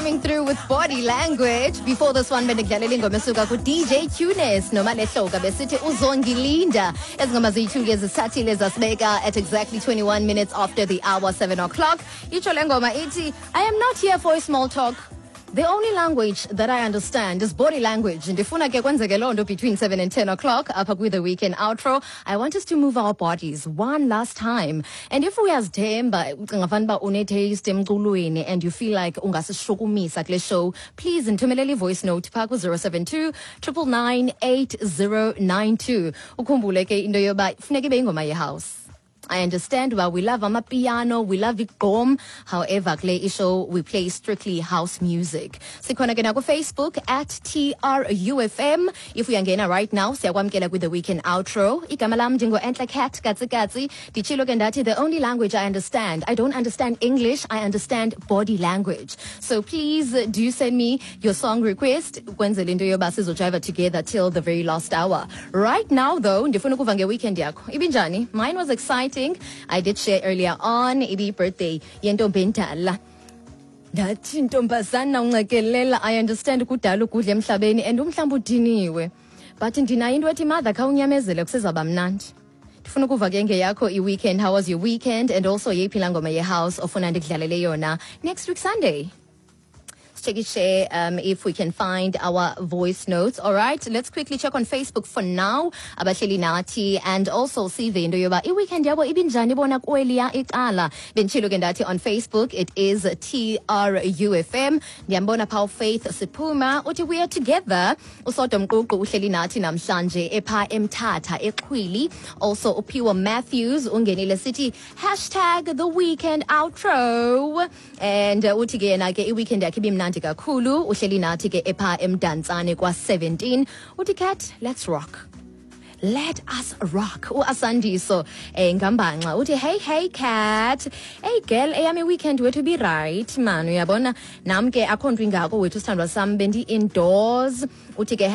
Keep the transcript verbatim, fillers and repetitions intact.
Coming through with body language. Before this one, bendikudlalela ingoma esuka ku-DJ Tunes noMalehloka besithi uzongilinda. Ezi ngoma ziyi-two ke zisithathile zasibeka at exactly twenty-one minutes after the hour, seven o'clock. Itsho le ngoma ithi, I am not here for a small talk. The only language that I understand is body language. Ndifuna ke kwenzeke loo nto between seven and ten o'clock apha kwi-The Weekend Outro. I want us to move our bodies one last time. And if uyazithemba, ucinga fanuba une-taste emculweni and you feel like ungasishukumisa kule show, please ndithumelele i-voice note phaa ku-zero seven two nine nine nine eight zero nine two. Ukhumbule ke into yoba funeka ibe ingoma ye-house. I understand well we love amapiano, we love igqom. However, kule ishow we play strictly house music. Sikhona ke naku Facebook at T R U F M. If uyangena right now, siyakwamkela with the weekend outro. Igama lam ndingo Entle Cat Katsi Katsi. Nditshilo ke ndathi the only language I understand, I don't understand English, I understand body language. So please uh, do send me your song request kwenzela into yoba sizojiva together till the very last hour. Right now though, ndifuna ukuva nge-weekend yakho. Ibinjani? Mine was exciting. I did share earlier on ibi birthday yentombi endala. Ndathi ntombazana uncekelela, I understand kudala ukudla emhlabeni and umhlawumbi udiniwe. But ndinayo into ethi mother khawunyamezele kusezawuba mnandi. Ndifuna ukuva ke ngeyakho i-weekend. How was your weekend? And also yeyiphi laa ngoma ye-house ofuna ndikudlalele yona next week Sunday? Check it, share um, if we can find our voice notes. All right, let's quickly check on Facebook for now. Abahleli nathi and also sive into yoba i-weekend yabo ibinjani bona kweliya icala. Benditshilo ke ndathi on Facebook it is T R U F M. Ndiyambona phaa Faith Siphuma uthi we are together. Usodwa Mququ uhleli nathi namhlanje epha eMthatha eXhwili. Also uPhiwa Matthews ungenile sithi hashtag the weekend outro and uh, uthi ke yena ke i-weekend yakhe ibimnandi kakhulu, uhleli nathi ke epha eMdantsane kwa seventeen. Uthi, "Cat, let's rock, let us rock." Uasandiso eh ngambanxa uthi, "Hey, hey Cat, hey girl, eyami weekend wethu be right man, uyabona nam ke akho nto ingako wethu, sithandwa sam, bendi indoors." Uthi ke